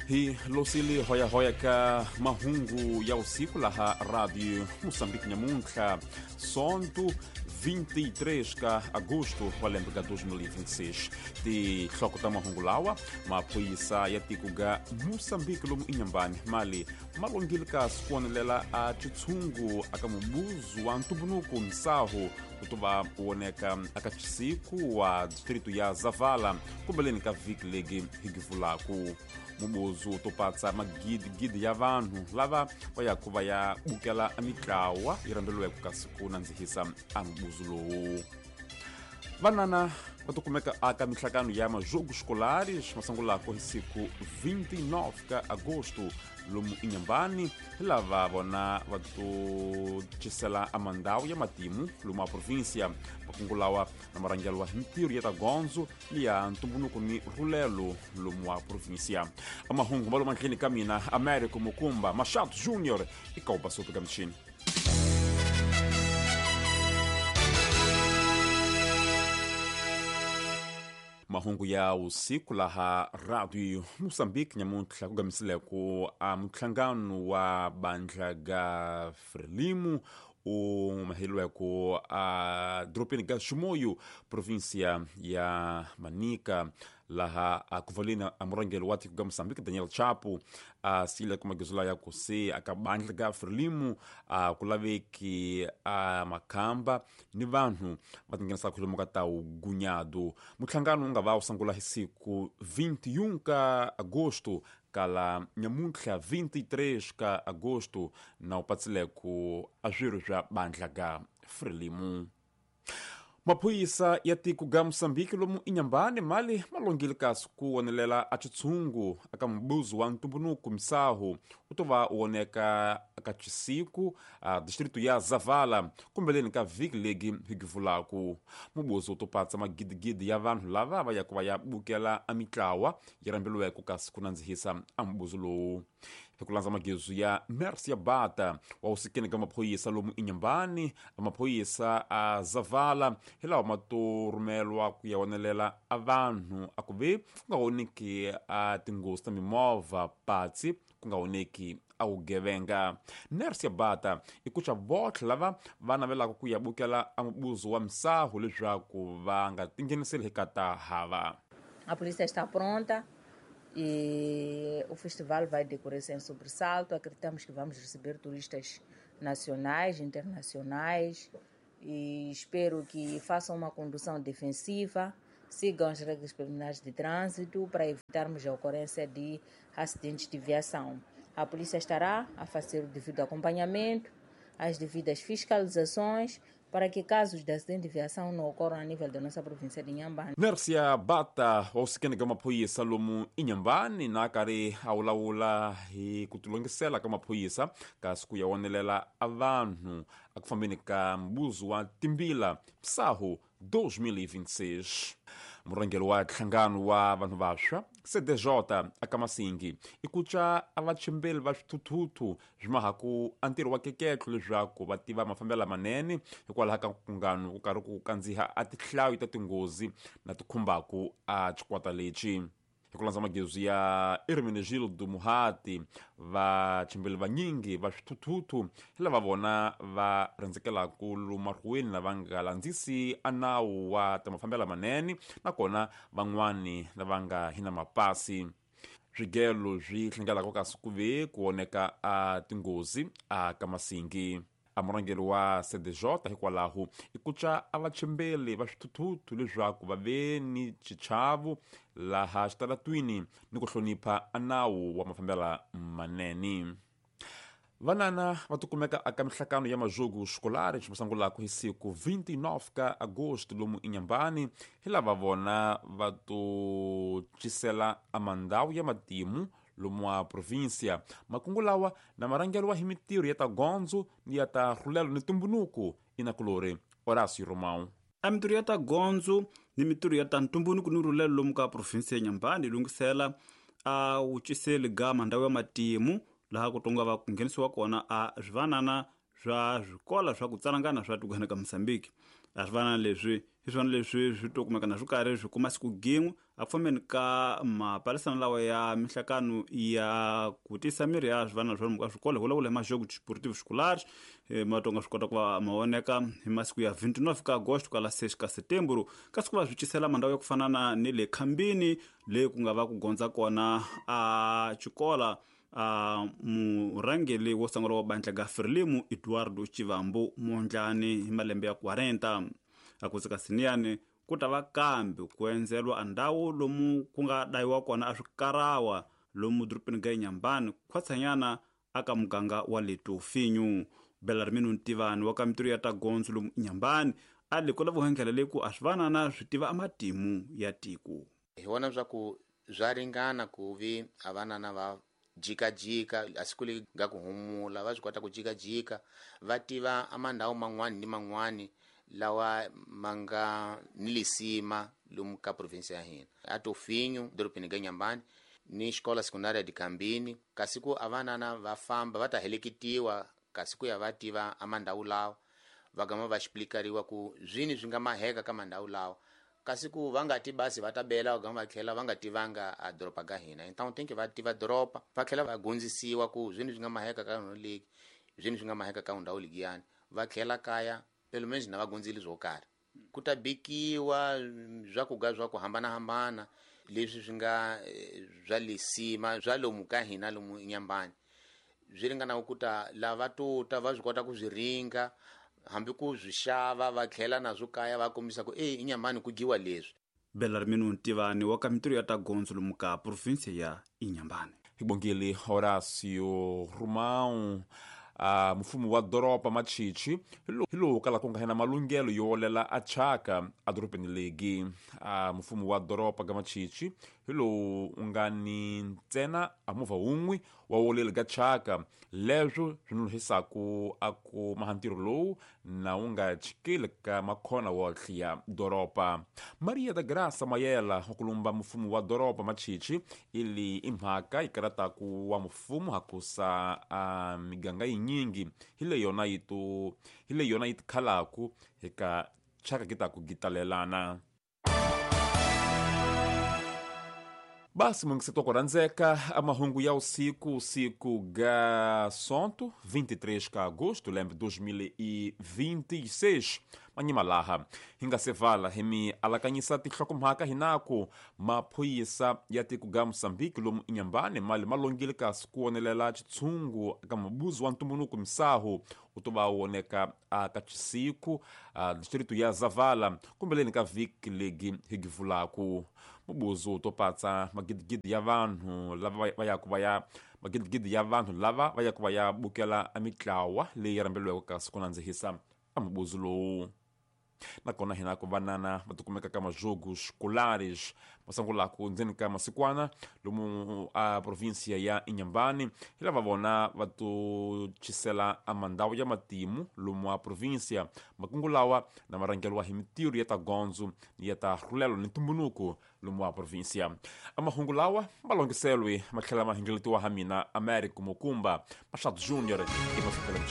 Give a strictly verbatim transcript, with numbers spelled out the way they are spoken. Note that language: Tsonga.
Hi losili hoya hoya ka mahungu ya usiku laha Radio Moçambique nyamuntlha sonto vinte e três ka agosto wa lembe ka dois mil e vinte e seis. Tihloko ta mahungu lawa maphorisa ya tiko ga Moçambique lomu Inhambane mali malongile ka sikuonelela a tshitshungu aka mubuzu wa ntumbunuku msaho kutuva woneka aka chisiku wa distrito ya Zavala kumbeleni ka vhiki legi higivulaku. Mubuzu topatsa magidigidi ya vanhu lava va yaku va ya bukela a mitlawa yi rhambeliweke ka siku nandzihisa a mubuzu lowu. Vanana va tikumeka aka mihlangano ya majogo escolares masungulako hi siku vinte e nove ka agosto lomu Inhambane hi lava vona va to cisela a mandawu ya matimu lomu a província makungulawa na marhangelo wa mintirho ya ta gondzo ni ya ntumbunuko ni rhulelo lomu wa província. A mahungu ma lomu andleni ka mina Américo Mukumba Machado Júnior i ka soto ka michini. Mahungu ya usiku laha Radio Moçambique nyamuntlha ku gamisileko a muhlangano wa bandla ga Frelimo u maheliweko a dorobeni ga Chimoio província ya Manica laha a kuvalina a murhangeri wa tiko ga Moçambique Daniel Chapo a sile ku magezula ya ku se aka bandla ga Frelimo a ku laveki a makhamba ni vanhu va tinghenisa kholomo ka ta ugunyado. Muhlangano wu nga va wu sungula hi siku vinte e um ka agosto kala nyamuntlha vinte e três ka agosto na wu patsileko a swirho swa bandla ga Frelimo. Maphorisa ya tiko ga Moçambique lomu Inhambane mali malongile kasi ku wonelela a tshitshungu aka mubuzu wa ntumbunuku msaho u to va woneka aka chisiku a distrito ya Zavala kumbeleni ka vhiki legi higivulaku. Mubuzu u to patsa magidigidi ya vanhu lava va yaku va ya bukela a mitlawa yi rhambeliweke kasi ku nandzihisa a mubuzu lowu. Hi ku landza magezu ya Mercia Bata wa usikeni ka maphorisa lomu Inhambane maphorisa a Zavala hi lawa ma to rhumelwa ku ya wonelela a vanhu a ku ve ku nga oneki a tinghozi ta mimovha patsi ku nga oneki a vugevenga. Nercia Bata i kuca votlhe lava va navelaka ku ya bukela a mubuzu wa misaho leswaku va nga tingheniseli hi ka ta hava. A polícia está pronta e o festival vai decorrer sem sobressalto. Acreditamos que vamos receber turistas nacionais, internacionais e espero que façam uma condução defensiva, sigam as regras preliminares de trânsito para evitarmos a ocorrência de acidentes de viação. A polícia estará a fazer o devido acompanhamento, as devidas fiscalizações, para que casos de acidente de viação não ocorram a nível da nossa província de Inhambane. Nercia Bata wa ka maphorisa lomu Inhambane na karhi a vulavula hi ku tilongisela ka maphorisa kasi ku ya wonelela a vanhu a ku fambeni ka mbuzu wa timbila msaho dois mil e vinte e seis. Murhangeri wa nhlangano wa vanhu vantshwa C D J aka Masingi i kuca a vachimbeli va swithuthuthu swi mahaku a ntirho wa keketlo leswaku va tiva mafambelo lamanene hikwalaho ka nkungano ku karhi ku kandziha a tihlayo ta tinghozi na ti khumbaku a xikwata lexi. Hi ku landza magezu ya Hermenegildo Muhati vachimbeli vanyingi va swithuthuthu hi lava vona va rhendzekelaku lomarhuweni lava nga landzisi a nawu wa ta mafambelo lamanene nakona van'wani lava nga hi na mapasi. Swigelo swi hlengelaka kasi ku ve ku oneka a tinghozi a ka Masingi. A murhangeri wa C D J hikwalaho i kuca a vachimbeli va swithuthuthu leswaku va ve ni xichavo laha xitaratwini ni ku hlonipha a nawu wa mafambelo manene. Vanana va tikumeka aka mihlangano ya majogo escolares masungulaka hi siku vinte e nove ka agosto lomu Inhambane hi lava vona va to cisela a mandawu ya matimu lomu wa província. Makungu lawa na marhangelo wa hi mintirho ya ta gondzo ni ya ta rhulelo ni ntumbunuko inakulori Horácio Romão. A mintirho ya ta gondzo ni mintirho ya ta ntumbunuko ni rhulelo lomu ka província ya Inhambane lunghisela a wu ciseli ga mandawu ya matimu laha ku tonga va ku nghenisiwa kona a swivanana swa swikola swa ku tsalangana swa tikweni ka Mozambique. A swivanana leswi hi swona leswi swi to kumeka na swi karhi swi kuma siku gin'we a ku fambeni ka mapalisana lawa ya mihlakano ya ku tisa miri ya swivanana swa lomu ka swikolo hi vulavula hi majogo desportivo escolares matonga swi kota ku va ma voneka hi masiku ya vinte e nove ka agosto kala seis ka setembro, kasi ku va swi cisela mandhawu ya ku fana na ni le khambini leyi ku nga va ku gondza kona a xikola a murhangeri wo sungula wa bandla ga Frelimo Eduardo Chivambo Mondlane hi malembe ya quarenta. A ku tsaka siniyani ku ta va kambe ku endzelwa andhawu lomu ku nga dayiwa kona a swikarawa lomu dorobeni ga Inhambane khwatsanyana aka muganga wa le Tofinho. Belarmino Ntivani wa ka mitirho ya ta gondzo lomu Inhambane a le ku lava ndlela leyi ku a swi vanana swi tiva amatimu ya tiko. Hi vona swa ku swa ringana ku vi a vanana va jikajika a siku leri nga ku humula, va swi kota ku jikajika va tiva amandhawu man'wani ni man'wani lawa ma nga ni lisima lomu ka provinsi ya hina, a Tofinho dorobeni ga Inhambane ni xikola sekundária de Kambini, kasi ku a vanana va famba va ta heleketiwa kasi ku ya va tiva amandhawu lawa, va gama va xiplikariwa ku zwini swi nga maheka ka mandhawu lawa, kasi ku va nga ti basi va ta bela va gama va tlhela va nga tivanga a doroba ga hina. Então tem que va tiva doroba, va tlhela va gondzisiwa ku zwini swi nga maheka ka ndhawu leyi, zwini swi nga maheka ka ndhawu leyiyani, va tlhela kaya pelo menos na va gondzile swo karhi. Ku ta bikiwa swakudya swa ku hambanahambana leswi swi nga swa lisima swa lomu ka hina lomu Inhambane, swi ringana ku ta lava to ta va swi kota ku swi ringa hambi ku swi xava va tlhela naswo kaya va kombisa ku e Inhambane ku dyiwa leswi. Belarmino Ntivani wa ka mitirho ya ta gondzo lomu ka provinsia ya Inhambane. Hibongile Horacio Romão. Uh, mfumo wa doroba Machichi hi lowu kala ku nga hena malunghelo yo olela a chaka a dorobeni legi. Uh, mfumo wa doroba ga Machichi hi lowu u nga ni ntsena a movha wun'we wa woleli ga chaka, leswo swi nonohisaku a ku maha ntirho lowu na wu nga chikeli ka makhona wotlhe ya doroba. Maria da Graça Mayela wa kulumba mfumo wa doroba Machichi ili i mhaka yi karataku wa mfumo hakusa a miganga yinyingi hi leyi yona yi to hi leyi yona yi tikhalaku eka chaka ki ta ku gitalelana. Basi mungiseto ku rhandzeka a mahungu ya usiku, usiku ga sonto vinte e três ka agosto lembe dois mil e vinte e seis manyima laha hi nga se vala hi mi alakanyisa tinhlokomhaka hinaku maphorisa ya tiko ga Moçambique lomu Inhambane mali ma longile kasi ku wonelela xitshungu ka mubuzi wa ntumbuluko misahu u to va woneka a ka chisiku a distrito ya Zavala kumbeleni ka vhiki legi hi givulaku. Mubuzi wu to patsa magidigidi ya vanhu lava va yaku va ya magidigidi ya vanhu lava va yaku va ya bukela a mitlawa leyi rhambeliweke kasi ku nandzihisa a mubuzi lowu. Nakona hina ku vanana va tikumeka ka majogo escolares masangulaku ndzeni ka masikwana lomu a provinsia ya Inhambane hi lava vona va to chisela a mandhawu ya matimu lomu a provinsia. Makungu lawa na marhangeliwa hi mitirho ya ta gondzo ni ya ta rhulelo ni ntumbunuko lomu a provinsia. A mahungu lawa ma longiselwe ma tlhela ma hingeletiwa ha mina Americo Mokumba Machado Júnior e